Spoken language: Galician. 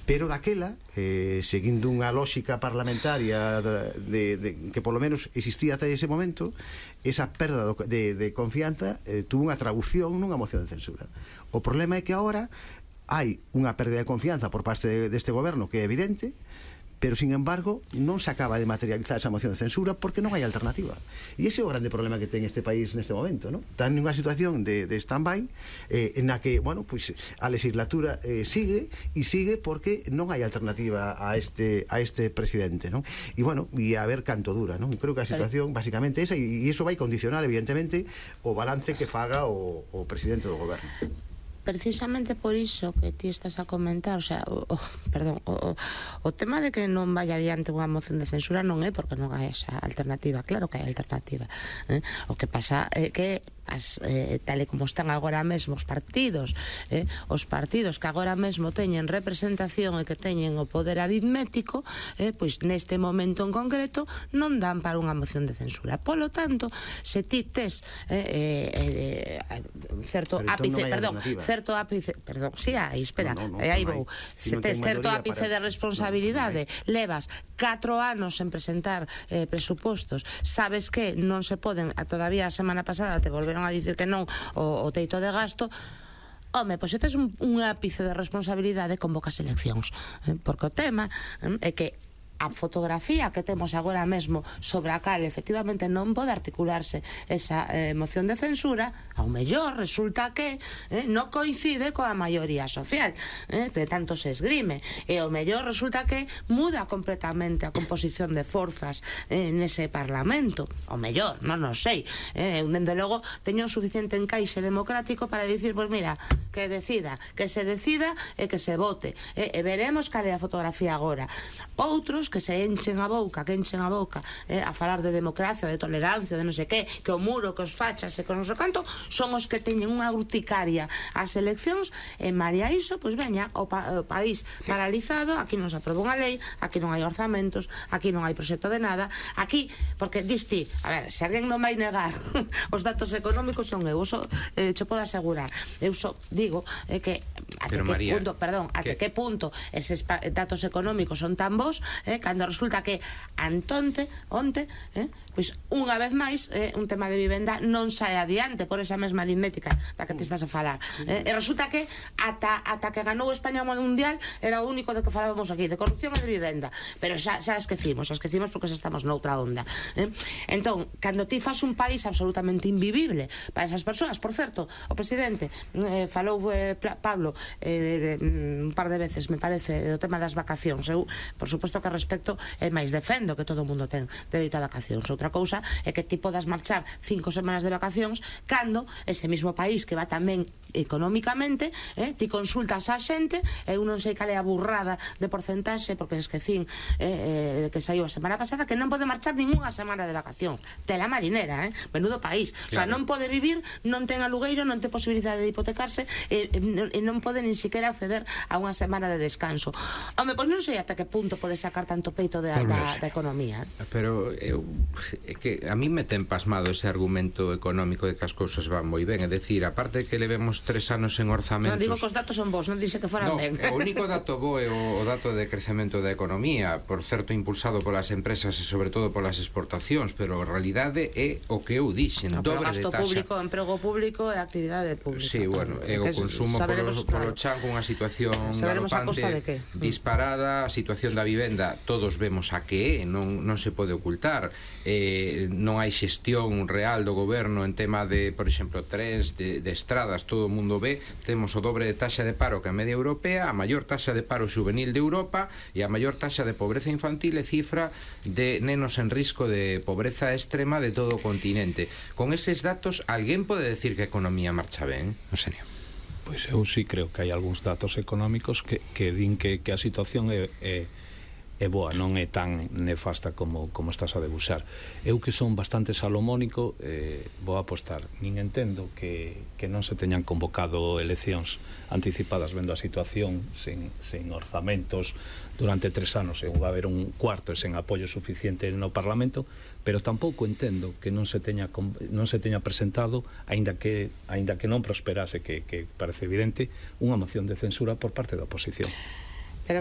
pero daquela, seguindo unha lógica parlamentaria que polo menos existía ata ese momento, esa perda de confianza tuvo unha traducción nunha moción de censura. O problema é que agora hai unha perda de confianza por parte deste goberno que é evidente, pero sin embargo non se acaba de materializar esa moción de censura porque non hai alternativa, e ese é o grande problema que ten este país neste momento, non? Está en unha situación de stand-by en a que, bueno, pues, a legislatura sigue porque non hai alternativa a este presidente, non? E bueno, e a ver canto dura, non? Creo que a situación basicamente esa, e iso vai condicionar evidentemente o balance que faga o presidente do goberno. Precisamente por iso que ti estás a comentar, o sea, o tema de que non vaya adiante unha moción de censura non é porque non hai esa alternativa, claro que hai alternativa, o que pasa é que tal e como están agora mesmo os partidos que agora mesmo teñen representación e que teñen o poder aritmético, pois neste momento en concreto non dan para unha moción de censura. Polo tanto, se ti tes certo ápice de responsabilidade, levas 4 anos en presentar presupostos, sabes que non se poden, todavía a semana pasada te volveron a dicir que non o teito de gasto. Home, pois se tes un ápice de responsabilidade, convocas eleccións, porque o tema é que a fotografía que temos agora mesmo sobre a cal efectivamente non pode articularse esa moción de censura, ao mellor resulta que non coincide coa maioría social, de tanto se esgrime, e ao mellor resulta que muda completamente a composición de forzas nese Parlamento, ao mellor, non o sei, dende logo teño un suficiente encaixe democrático para dicir, pois mira, que se decida e que se vote, e veremos cal é a fotografía agora. Outros que se enchen a boca a falar de democracia, de tolerancia, de non sei que o muro, que os fachas e que non sei canto, son os que teñen unha urticaria ás eleccións, e malia iso, pois veña, o país paralizado, aquí non se aproba unha lei, aquí non hai orzamentos, aquí non hai proxecto de nada, aquí, porque diste, a ver, se alguén non vai negar os datos económicos son eu, che podo asegurar, eu só digo que até que punto eses datos económicos son tan bons, cando resulta que onte, pois unha vez máis un tema de vivenda non sae adiante por esa mesma aritmética da que te estás a falar, e resulta que ata que ganou España o mundial era o único de que falábamos aquí, de corrupción e de vivenda, pero xa esquecimos porque xa estamos noutra onda. Entón, cando ti fas un país absolutamente invivible para esas persoas, por certo, o presidente falou Pablo un par de veces, me parece, do tema das vacacións. Eu, por suposto que respecto e máis defendo que todo o mundo ten dereito a vacacións. Outra cousa é que ti podas marchar 5 semanas de vacacións cando ese mismo país que va tamén económicamente, ti consultas a xente, eu non sei cal é a burrada de porcentaxe, porque esquecín que saiu a semana pasada, que non pode marchar ninguna semana de vacacións. Tela marinera, menudo país. O sea, non pode vivir, non ten alugueiro, non ten posibilidade de hipotecarse, e non pode nin siquiera acceder a unha semana de descanso. Home, pois non sei ata que punto pode sacar tanto peito da economía. Pero é que a mí me ten pasmado ese argumento económico de que as cousas van moi ben, é dicir, aparte de que levemos 3 anos en orzamentos. Non digo que os datos son bons, non dixe que foran ben. O único dato bo é o dato de crecemento da economía, por certo impulsado polas empresas e sobre todo polas exportacións, pero a realidade é o que eu dixen, dobre de taxa. Gasto público, emprego público e actividade pública. Sí, bueno, é o consumo polo chan con unha situación galopante, disparada, a situación da vivenda, todos vemos a que é, non se pode ocultar, non hai xestión real do goberno en tema de, por exemplo, trens, de estradas, todo o mundo ve, temos o dobre de taxa de paro que a media europea, a maior taxa de paro juvenil de Europa e a maior taxa de pobreza infantil e cifra de nenos en risco de pobreza extrema de todo o continente. Con eses datos, alguén pode decir que a economía marcha ben? En serio? Pois eu sí creo que hai algúns datos económicos que din que a situación é boa, non é tan nefasta como estás a debuxar. Eu que son bastante salomónico, vou apostar, nin entendo que non se teñan convocado eleccións anticipadas vendo a situación sen orzamentos durante 3 anos, e va a haber un cuarto e sen apoio suficiente no Parlamento, pero tampouco entendo que non se teña presentado, aínda que non prosperase, que parece evidente, unha moción de censura por parte da oposición.